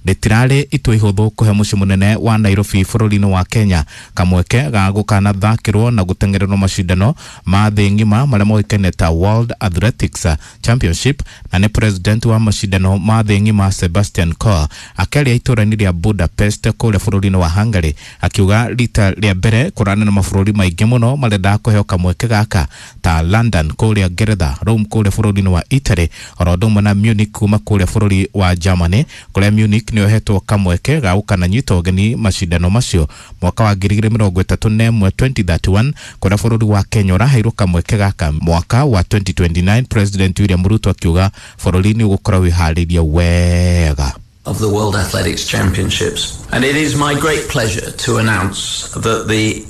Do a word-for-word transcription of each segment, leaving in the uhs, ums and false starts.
Rĩtirarĩ itua ihũthũ kũhe mũciĩ mũnene wa Nairobi bũrũri-inĩ wa Kenya kamweke ga gũkanathakĩrwo na gũteng'ererwo macindano ma thĩ ng'ima marĩa moĩkaine ta World Athletics Championship, na nĩ president wa macindano ma thĩ ng'ima Sebastian Coe akĩaria itũũra-inĩ rĩa Budapest kũrĩa bũrũri-inĩ wa Hungary, akiuga rita rĩa mbere kũrana na mabũrũri maingĩ mũno marenda kũheo kamweke gaka ta London kũrĩa Ngeretha, Rome kũrĩa bũrũri-inĩ wa Italy, oro ũndũ ũmwe na Munich kuma kũrĩa bũrũri wa Germany, kũrĩa Munich nĩyo ĩhetwo kamweke ga gũkananyita ũgeni macindano macio mwaka wa ngiri igĩrĩ mĩrongo ĩtatũ na ĩmwe twenty thirty-one, kũrĩa bũrũri wa Kenya ũraheirwo kamweke gaka mwaka wa twenty twenty-nine. President William Ruto akiuga bũrũri nĩ ũgũkorwo wĩharĩirie wega of the World Athletics Championships. And it is my great pleasure to announce that the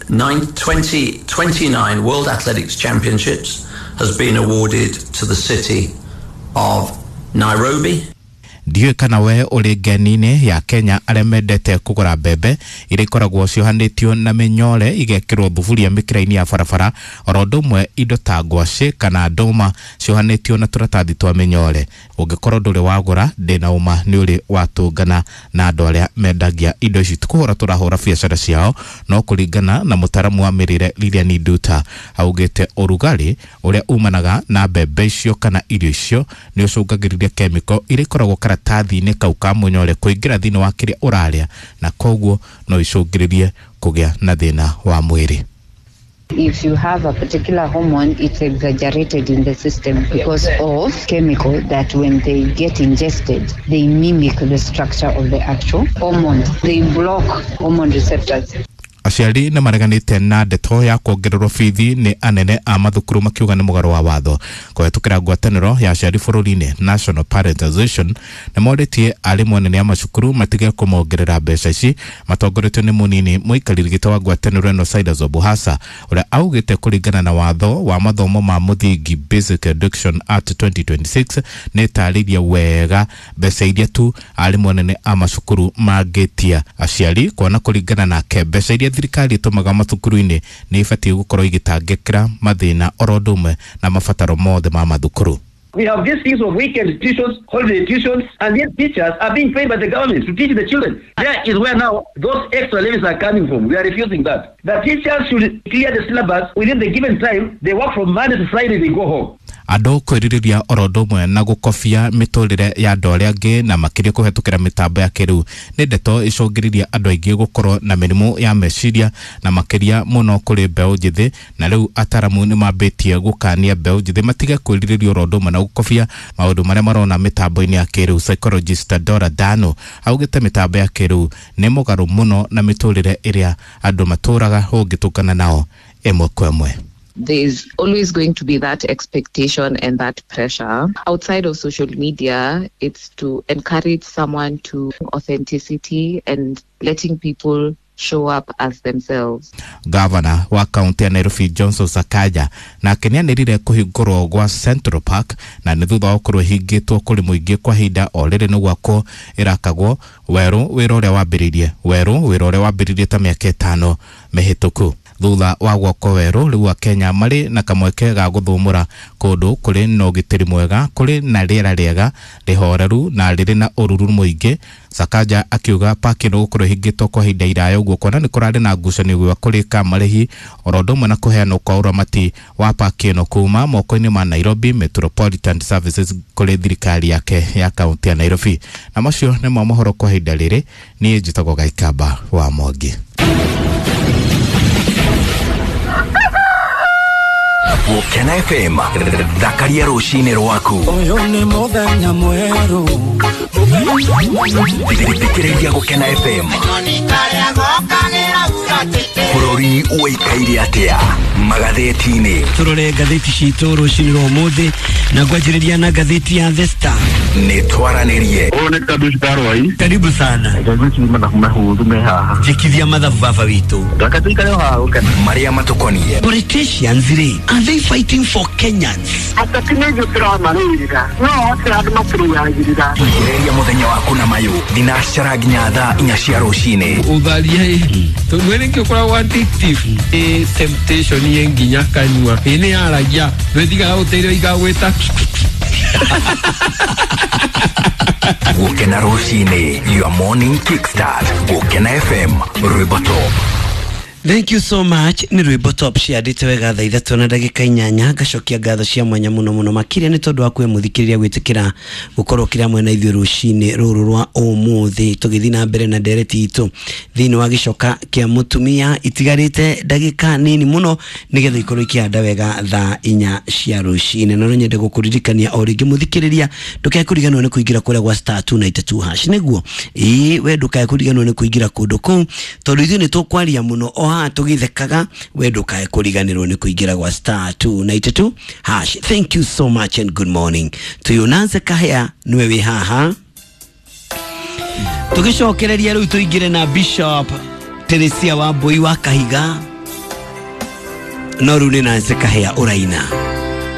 twenty twenty-nine World Athletics Championships has been awarded to the city of Nairobi. Ndiũĩ kana we ũrĩ ngeni-inĩ ya Kenya arĩa mendete kũgũra mbembe iria ikoragwo ciohanĩtio na mĩnyore igekĩrwo thuburia mĩkĩra-inĩ ya barabara, oro ũndũ ũmwe indo ta ngwacĩ kana ndũma ciohanĩtio na tũratathi twa mĩnyore. Ũngĩkorwo ndũrĩ wagũra, ndĩna ũma nĩ ũrĩ watũngana na andũ arĩa mendagia indo ici. Tũkũhũra tũrahũra biacara ciao, no kũringana na mũtaaramu wa mĩrĩre Lilian Nduta augĩte ũrugarĩ ũrĩa umanaga na mbembe icio kana irio icio nĩ ũcũngagĩrĩria kemiko iria ikoragwo karatathi-inĩ kau ka mũnyore kũingĩra thĩinĩ wa kĩrĩa ũrarĩa, na koguo no icũngĩrĩrie kũgĩa na thĩna wa mwĩrĩ. If you have a particular hormone, it's exaggerated in the system because of chemical that when they get ingested, they mimic the structure of the actual hormone. They block hormone receptors. Aciari nĩ mareganĩte na ndeto ya kuongererwo bithi nĩ anene a mathukuru makiuga nĩ mũgarũ wa watho. Kũhetũkĩra ngwatanĩro ya aciari bũrũri-inĩ National Parent Association nĩ morĩtie arimũ anene a macukuru matige kũmongerera mbeca ici, matongoretio nĩ mũnini mũikarĩri gĩtĩ wa ngwatanĩro ĩno Silas Obuhasa, ũrĩa augĩte kũringana na watho wa mathomo ma mũthingi Basic Education Act twenty twenty-six nĩ ĩtarĩirie wega mbeca iria tu arimũ anene a macukuru mangĩtia aciari, kuona kũringana nake mbeca iria thirikari ĩtũmaga mathukuru-inĩ nĩ ibatiĩ gũkorwo igĩtangĩkĩra mathĩna oro ũndũ ũmwe na mabataro mothe ma mathukuru. We have these things of weekend tuitions, holiday tuitions, and these teachers are being paid by the government to teach the children. There is where now those extra levies are coming from. We are refusing that. The teachers should clear the syllabus within the given time. They work from Monday to Friday, they go home. Andũ kwĩrirĩria oro ũndũ ũmwe na gũkobia mĩtũrĩre ya andũ arĩa angĩ na makĩria kũhetũkĩra mĩtambo ya kĩrĩu nĩ ndeto ĩcũngĩrĩria andũ aingĩ gũkorwo na mĩrimũ ya meciria na makĩria mũno kũrĩ mbeũ njĩthĩ, na rĩu ataramu nĩ mambĩtie gũkania mbeũ njĩthĩ matige kwĩrirĩria oro ũndũ ũmwe na gũkobia maũndũ marĩa marona mĩtambo-inĩ ya kĩrĩu. Psychologist Dora Dano augĩte mĩtambo ya kĩrĩu nĩ mũgarũ mũno na mĩtũrĩre ĩrĩa andũ matũraga ũngĩtũngana nao ĩmwe kwa ĩmwe. There's always going to be that expectation and that pressure. Outside of social media, it's to encourage someone to authenticity and letting people show up as themselves. Governor wa kaunti ya Nairobi Johnson Sakaja nake nĩanĩrĩire kũhingũrwo gwa Central Park, na nĩ thutha wa gũkorwo ĩhingĩtwo kũrĩ mũingĩ kwa ihinda o rĩrĩ nĩ gwakwo ĩrakagwo werũ wĩra ũrĩa wambĩrĩirie werũ wĩra ũrĩa wambĩrĩirie ta mĩaka ĩtano mĩhĩtũku. Thutha wa gwakwo werũ rĩu Akenya marĩ na kamweke ga gũthũmũra kũndũ kũrĩ na ũgitĩri mwega, kũrĩ na rĩera rĩega rĩhoreru na rĩrĩ na ũruru mũingĩ. Sakaja akiuga paki ĩno gũkorwo ĩhingĩtwo kwa ihinda iraya ũguo kuona nĩ kũrarĩ na ngucanio gwa kũrĩka marĩhi oro ũndũ ũmwe na kũheanwo kwa ũramati wa paki ĩno kuma moko-inĩ ma Nairobi Metropolitan Services kũrĩ thirikari yake ya kaunti ya Nairobi. Na macio nĩmo mohoro kwa ihinda rĩrĩ. Niĩ njĩtagwo Gaikamba wa Mwangi. Gũkena F M thakaria rũcinĩ rwaku. Ũyũ nĩ mũthenya mwerũ. Thikĩrĩria Gũkena F M. Bũrũri ũikaire atĩa magathĩti-inĩ? Tũrore ngathĩti citũ rũcinĩ rwa ũmũthĩ na ngwanjĩrĩria na ngathĩti ya The Star. Nĩ twaranĩrie. Ũyũ nĩ Kadush Karwai. Karibu sana. Njĩkithia mathabu baba witũ. Marĩa matũkoniĩ. Politicians rĩ, are they fighting for Kenyans? Thikĩrĩria mũthenya waku na mayũ thinacara nginya thaa inya cia rũcinĩ. Ũtharia tondũ nĩkĩo ũkoragwo addictive. Ĩ temptation ĩ nginya kanua. Ĩ nĩ yaragia ndwĩtigaga gũteithio igagwĩta. Gukena rucini, your morning kickstart. Gukena F M, rwimbo top. Thank you so much. Nĩ rwĩmbo top ciandĩte wega thaa ithatũ na ndagĩka inyanya. Ngacokia ngatho cia mwanya mũno mũno makĩria nĩ tondũ wa kwĩ mũthikĩrĩria gwĩtĩkĩra gũkorwo kĩrĩa mwena ithuĩ rũcinĩ rũrũ rwa ũmũthĩ tũgĩthiĩ na mbere na ndereti itũ thĩinĩ wa gĩcoka kĩa mũtumia. Itigarĩte ndagĩka nini mũno nĩgetha ikorwo ikĩhanda wega thaa inya cia rũcinĩ. Na no nyende gũkũririkania o rĩngĩ mũthikĩrĩria, ndũkae kũriganĩrwo nĩ kũingĩra kũrĩa gwa star two ninety two hash nĩguo ĩĩ we ndũkae kũriganĩrwo nĩ kũingĩra kũndũ kũu tondũ ithuĩ nĩ tũkwaria mũno o haha tũgĩthekaga, we ndũkae kũriganĩrwo nĩ kũingĩra gwa star two ninety two hash. Thank you so much and good morning to you. Nancy Kahea nĩwe wĩ haha tũgĩcokereria rĩu tũingĩre na Bishop Teresia wa Mbui wa Kahiga, no rĩu nĩ Nancy Kahea ũraina.